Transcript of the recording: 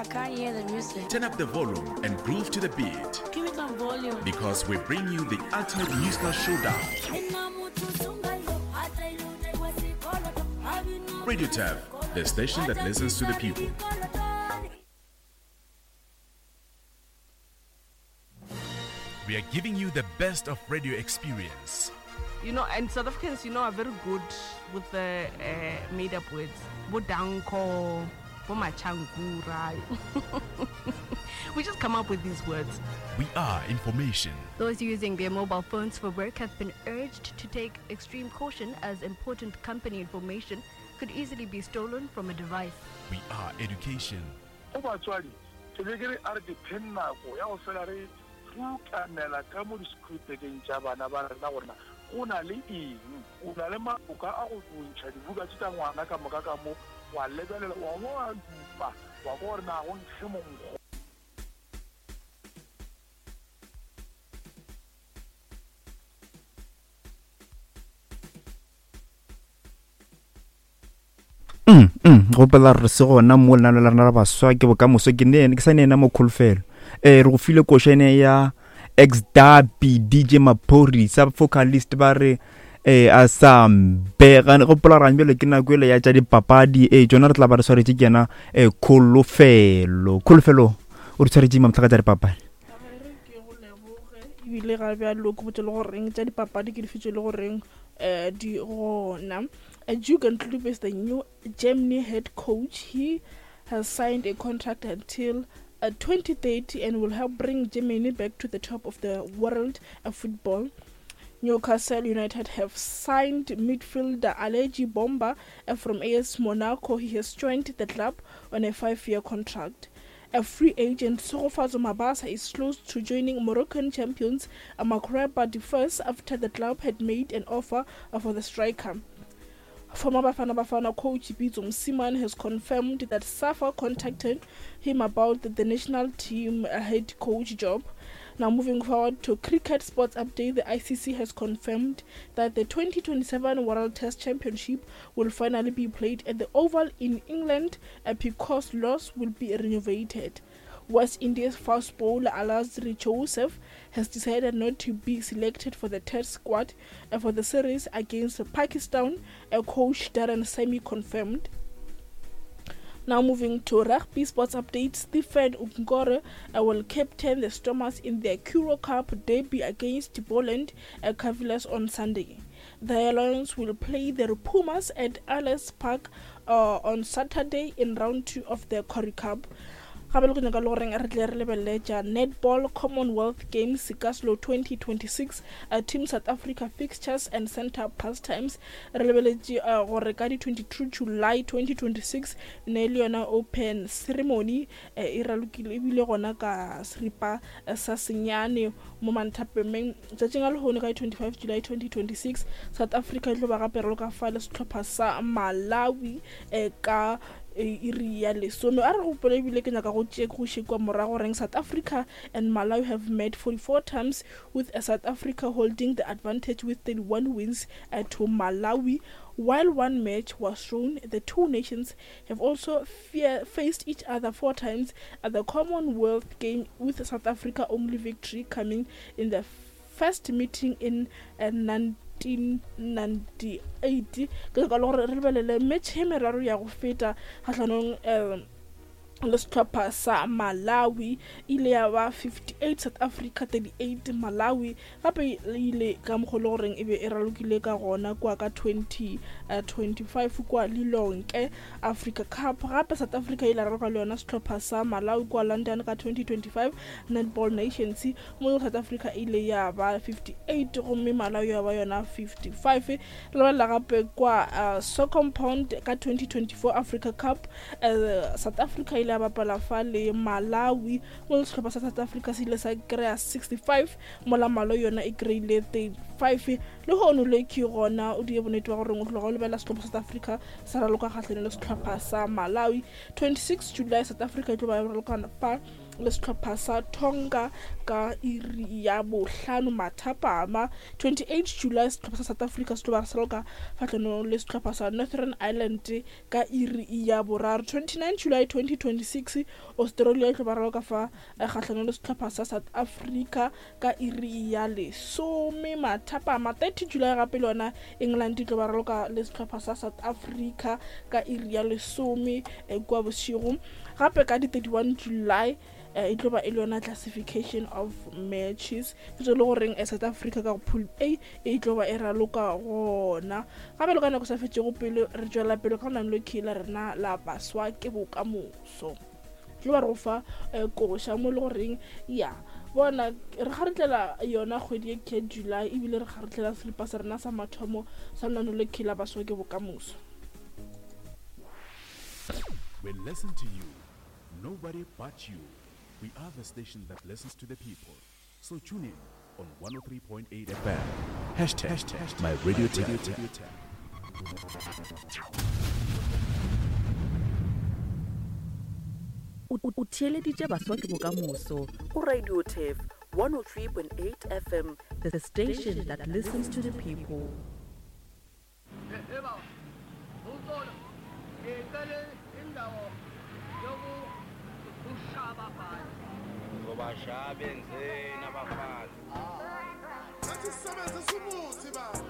I can't hear the music. Turn up the volume and groove to the beat. Give me some volume. Because we bring you the ultimate musical showdown. Radio Tab, the station that listens to the people. We are giving you the best of radio experience. You know, and South Africans, you know, are very good with the uh, made up words. Bodanko, Bomachankura. we just come up with these words. We are information. Those using their mobile phones for work have been urged to take extreme caution as important company information could easily be stolen from a device. We are education. Go batswadi, ke be ke re a re dipheng nako ya go fela re tlukanela ka mo disekhurupekeng tša bana ba rena gore na go na le eng. O na le maloka a go ntšha dibuka tše tša ngwana ka moka ka mo, wa lebelela, wa ba wa dupa, wa kwa gore na go nkge monkgo. Mm, mm, gopela re se gona mo lenano la rena la baswa ke bokamoso ke ne ke sa ne ena mo kholofelo eh re go file koša ene ya ex derby dj maphorisa vocalist ba re eh a sa mbega gopola gore bjale ke nako ele ya tša dipapadi eh tšona re tla ba re swaretše ke yena eh kholofelo kholofelo o re tshwaretše mamtlha ka tša dipapadi ebile ga bjalo ke botse le goreng tša dipapadi ke dife tše le goreng um di gona Jurgen Klopp is the new Germany head coach. He has signed a contract until uh, 2030 and will help bring Germany back to the top of the world of football. Newcastle United have signed midfielder Aleji Bomba uh, from AS Monaco. He has joined the club on a five-year contract. A free agent, Tshegofatso Mabasa, is close to joining Moroccan champions Magreba first after the club had made an offer for the striker. Former Bafana Bafana coach Pitso Mosimane has confirmed that SAFA contacted him about the national team head coach job. Now, moving forward to cricket sports update, the ICC has confirmed that the 2027 World Test Championship will finally be played at the Oval in England because Lord's will be renovated. West Indies fast bowler Alzarri Joseph has decided not to be selected for the test squad for the series against Pakistan, a coach Darren Sammy confirmed. Now moving to rugby sports updates, Stephen Ungore uh, will captain the Stormers in their Currie Cup derby against Poland at Cavaliers on Sunday. The Lions will play the Pumas at Ellis Park uh, on Saturday in round two of the Currie Cup. Gape le go nyaka le goreng re tle re lebelele tša netball commonwealth games kaslo 2026 uh, team south africa fixtures and center pastimes re lebeletše uh, gore ka di 22 july 2026 ne le yona open ceremony uh, e ralokile ebile gona ka seripa uh, sa senyane mo manthapemeng tšatšing a lehono ka di 25 july 2026 south africa e tlo ba gape raloka fa le sehlopha sa malawi uh, ka e iri ya lesome a re gopole ebile ke nyaka go tšee go iše kua morago reng south africa and malawi have met 44 times with south africa holding the advantage with 31 wins uh, to malawi while one match was drawn the two nations have also fear, faced each other four times at the commonwealth game with south africa only victory coming in the first meeting in uh, 1998 ke nyaka le gore re lebelele metšhe e meraro ya go feta kgahlanong um le sehlopha sa Malawi ile ya ba 58 South Africa 38 Malawi gape e ile ka mokgwa le goreng e be e ralokile ka gona kua ka 2025 kua Lilongwe Africa Cup gape South Africa ile raloka le yona sehlopha sa Malawi kua London ka 2025 Netball Nations mo South Africa e ile ya ba 58 gomme Malawi ya ba yona 55. Re lebelela gape kwa uh, Soccer Pound ka 2024 Africa Cup uh, South Africa ile ya bapala fa le Malawi mo sehlopha sa South Africa se ile sa kry-a 65 mola Malawi yona e kry-ile 35. Le hono le ke gona o die bonnete ba gore o tloga o lebelela sehlopha South Africa sa raloka kgahlano le sehlopha sa Malawi. 26 July South Africa e tlo ba raloka fa le sehlopha sa Tonga ka iri ya bohlano mathapama. 28 July sehlopha sa South Africa se tlo ba se raloka kgahlanong le sehlopha sa Northern Ireland ka iri ya boraro. 29 July 2026 Australia e tlo ba raloka fa kgahlanong le sehlopha sa South Africa ka iri ya lesome mathapama. 30 July gape le yona England e tlo ba raloka le sehlopha sa South Africa ka iri ya lesome kua bošego. Gape ka di 31 July e tlo ba e le yona classification of matches, ke tse le goreng South Africa ka go pool A e tlo ba e raloka gona. Gape le ka nako sa fetšego pele re tšwela pele ka go nang le la rena la baswa ke bokamoso, tlo ba re go fa koša mo le goreng ya bona re kgaretlela yona kgwedi e ke July, ebile re kgaretlela seripa sa rena sa mathomo sa lenano le la baswa ke bokamoso. We listen to you, nobody but you. We are the station that listens to the people. So tune in on 103.8 FM. Hashtag, hashtag my radio tap. O theeleditše baswa ke bokamoso go Radio Turf 103.8 FM, the station that listens to the people. Ngizobashaya benzeni abafana. Sathi sisebenzisa umuthi baba.